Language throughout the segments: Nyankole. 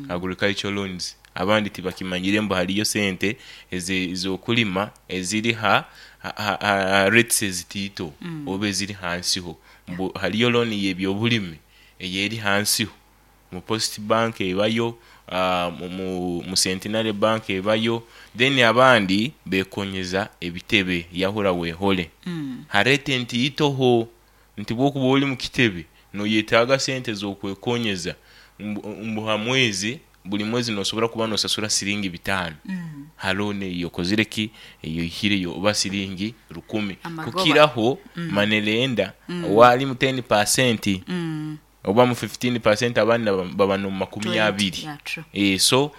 Agricultural loans. Abandi tibakimanyire mbu hariyo sente ez'okulima eziri ha rates ezitaito oba eziri hansiho. Mbu hariyo looni y'ebyobulimi eyeri hansiho. Mu Post Bank ebayo, mu Centenary Bank ebayo, then abandi bekonyeza ebitebe yahura wehole. Ha rate ntaitoho nti bwokuba ori mu kitebe noyetaaga sente z'okwekonyeza mbu ha mwezi, buri mwezi nosobora kuba nosasura siringi bitaano ha looni eyi okozire ki, eyi oihireyo oba siringi rukumi. Kukiraho money lender owari mu ten percent. Oba mu 15% abandi baba nomu makumi abiri. So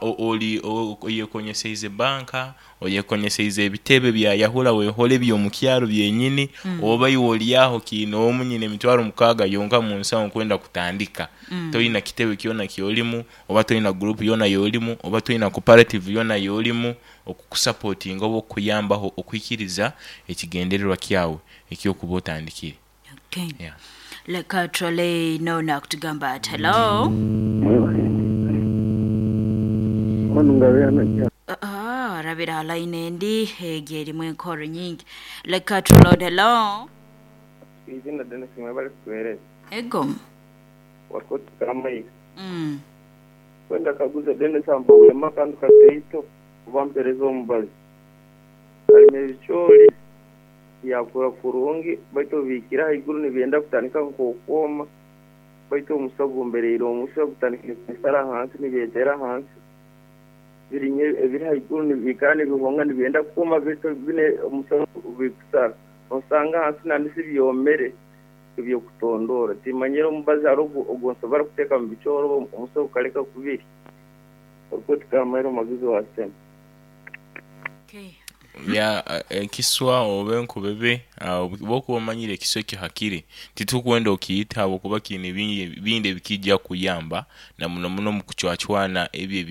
ori oyekonyeseize banka, oyekonyeseize ebitebe bya yahura wehore ebyomukyaro byenyini, oba iwe ori aho kiinoomu nyine emitwaro mukaaga yonka munsaho nkwenda kutandika. Toine kitebe kyona kyorimu, oba toine group yona yorimu, oba toine cooperative yona yorimu okukusapotinga oba okukuyambaho okuhikiriza ekigendererwa kyawe ekyokuba otandikire. Okay. Yeah. Leka turole noona akutugamba ati hello. Ah, arabire aha line endi egyo erimu enkoro nyingi. Leka turole hello. Izina Dennis mwebale kutuhereza. Ego. Wakoti Kamaiga. Kwenda kaguza Dennis ampabulemu akantu kataito oba mpereze omubazi. Alima ebicoori. Byakura kurungi, baitu obu bihikire ahaiguru nibyenda kutandika nk'okwoma, baitu omusa gumbereire omusa gutandikire kubisara ahansi nibyetera ahansi. Biri ebiri haiguru nibiikara nibihonga nibyenda kwoma baitu bine omusa bikusara. Nosanga ahansi nandisi byomere eby'okutondoora. Timanyire omubazi hariho ogu nsobora kuteeka omu bicoori omusa gukaleka kubirya. Orikuti kamaire omuhagizi wa sitemu. Ya ekiswa oba enkubebe bwokuba omanyire ekiswa ekyo hakiri, titukwenda okiite ahabwokuba kiine bingi ebikija kukuyamba na muno muno omu kucwacwana ebyo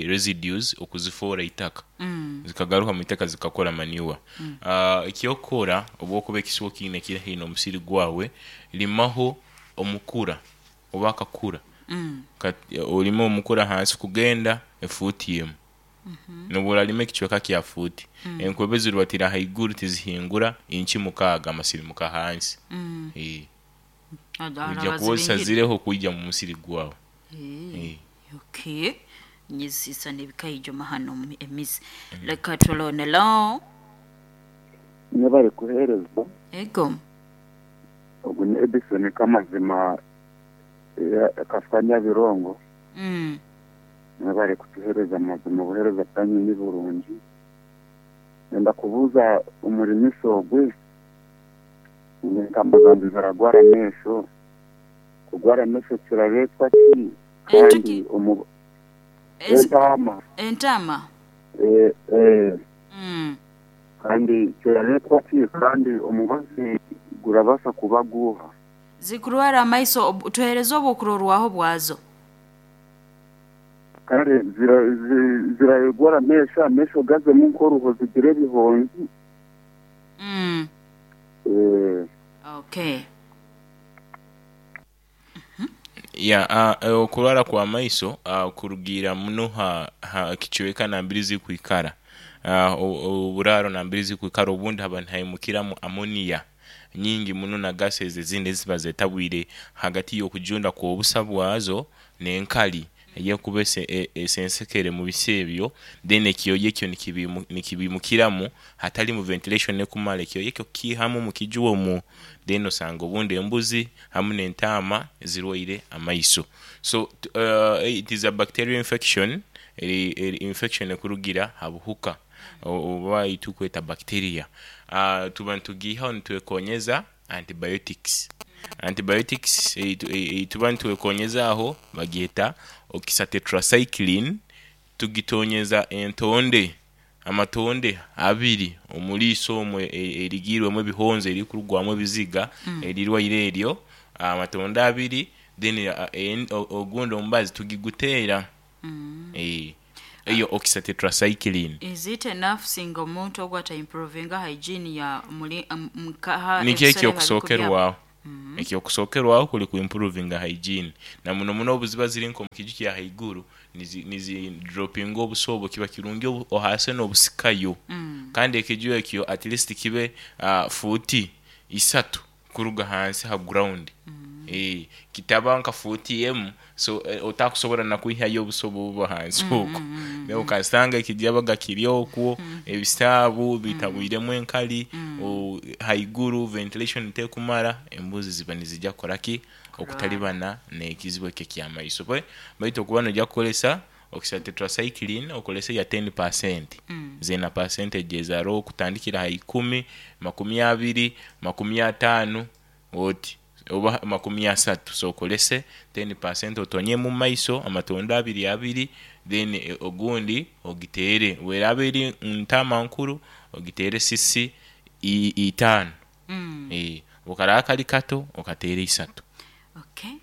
residues okuzifoora eitaka zikagaruka omu itaka zikakora manure. Ekyokukora obwokuba ekiswa okiine kiri haihi n'omusiri gwawe, rimaho omukura oba akakura, orime omukura ahansi kugenda efuuti emu. N'obu orarima ekicweka kya fuuti, enkwebe ziribatira ahaiguru tizihingura inci mukaaga amasirimuka ahansi. Oija kuba ozisazireho kwija mu musiri gwawe. Okay. Nyizisana ebikaijuma hano emizi. Leka turone lo. Mwebare kuhereza. Ego. Ogu ni Edison Kamazima Kafika Nyabirongo. Mwebare kutuhereza mazima obuhereza bwanyu niburungi. Nyenda kubuuza omurimisa ogwe ngu entama zangye ziragwara amaisho, kugwara amaisho kiraretwa ki kandi omu entaama Entaama? Kandi kiraretwa ki kandi omubazi gurabaasa kuba guuha? Zikurwara amaiso tuhereze obwokurorwaho bwazo. Kare zirarwara amaisho, amaisho gazemu nk'oruho zigire ebihonzi. Okay. Ya okurwara kwa maiso kurugiirira muno ha kicweka nambere zirikwikara, oburaaro nambere zirikwikara obundi haba nihaimukiramu amoniya. nyingi muno na gases ezindi eziba zetabwire hagati y'okujunda kw'obusa bwazo n'enkali ey'ekuba esensekere mu bisa ebyo, then ekyoya ekyo nikibimukiramu hatalimu ventilation ekumara, ekyoya ekyo kukiihamu omu kiju omwo, then osanga obundi embuzi hamu n'entaama zirwaire amaiso. So it is a bacterial infection, eri infection ekurugira ha buhuka. oba ei turikweta bacteria. Tuba nitugiihaho nitwekonyeza antibiotics. Antibiotics ei tuba nitwekonyeza aho bagyeta oxytetracycline, tugitonyeza entonde, amatonde abiri omu riiso omwo erigiirwemu ebihonzi erikurugwamu ebiziga erirwaire eryo, amatonde abiri then ogundi omubazi tugiguteera. Eyo oxytetracycline. Is it enough singa omuntu ogu ata improvinga hygiene ya muli nkaha Nikyo ebisoro ebi arikubyama? ekyokusookerwaho. Ekyokusookerwaho kuri ku improvinga hygiene na muno muno obu ziba ziri nk'omu kiju kya haiguru nizi nizi dropinga obusa obwo kiba kirungi ohaase n'obusikayo kandi ekiju ekyo at least kibe fuuti isatu kuruga hansi ha ground kitaba nka fuuti emu so otakusobora nakwihayo obusa obuba hansi okwo okasanga ekijabaga kiri okwo, ebisaabu bitabwiremu enkali, haiguru ventilation tekumara, embuzi ziba nizija kukoraki? Okutalibana n'ekizibu ekyo eky'amaiso. Baitu okuba noija kukozesa okisa tetracycline okozese eya 10%, zeena percentage ezo haroho okutandikira ha ikumi, makumi abiri, makumi ataanu oti oba 30 so okozese 10% otonyemu omu maiso amatondo abiri abiri then ogundi ogiteere bweraba eri ntaama nkuru ogiteere cc itaanu bwekaraba kali kato okateere isatu. Okay,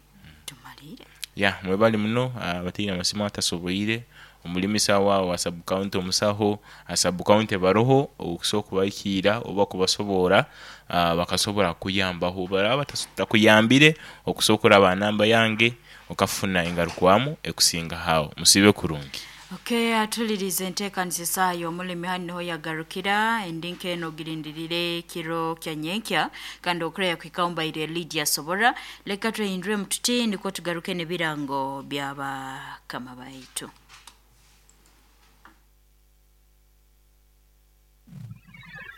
tumaliire. Ya mwebale muno abataine amasimu atasoboire omulimisa waawe wa sub county omusaho ha sub county baroho okusobola okubahikiira oba kubasoboora bakasobola kukuyambaho. Obu baraaba batakuyambire okusobola okuraba aha namba yange okafuna engarukwamu ekusingaho aho. Musiibe kurungi. Okay, atulirize enteekaniza esaaha y'omulimi hanu niho yagarukira endi nk'eno ogirindirire kiro kya nyenkya kandi okureya kuhikaho mbaire Lydia Sobora leka twehinduremu tuti nikwo tugaruke n'ebirango by'abakama baitu.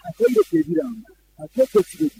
Akaire k'ebirango akeekyo kiro.